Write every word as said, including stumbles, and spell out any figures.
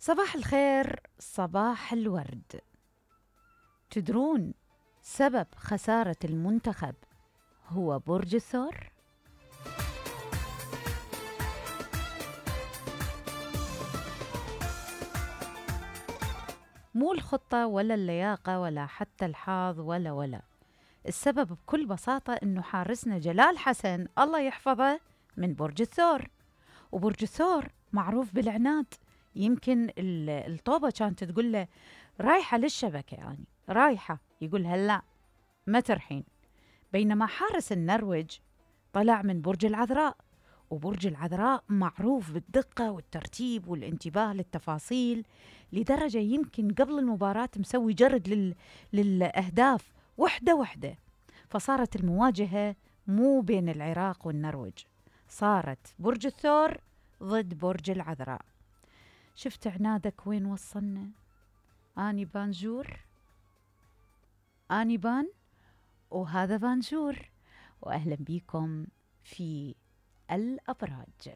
صباح الخير، صباح الورد. تدرون سبب خسارة المنتخب هو برج الثور؟ مو الخطة ولا اللياقة ولا حتى الحظ ولا ولا السبب بكل بساطة إنه حارسنا جلال حسن الله يحفظه من برج الثور. وبرج الثور معروف بالعناد. يمكن الطوبة كانت تقول له رايحة للشبكة، يعني رايحة، يقول هلا ما ترحين. بينما حارس النرويج طلع من برج العذراء، وبرج العذراء معروف بالدقة والترتيب والانتباه للتفاصيل، لدرجة يمكن قبل المباراة مسوي جرد لل... للأهداف وحدة وحدة. فصارت المواجهة مو بين العراق والنرويج، صارت برج الثور ضد برج العذراء. شفت عنادك وين وصلنا؟ أني بانجور، أني بان، وهذا بانجور، وأهلا بيكم في الأبراج.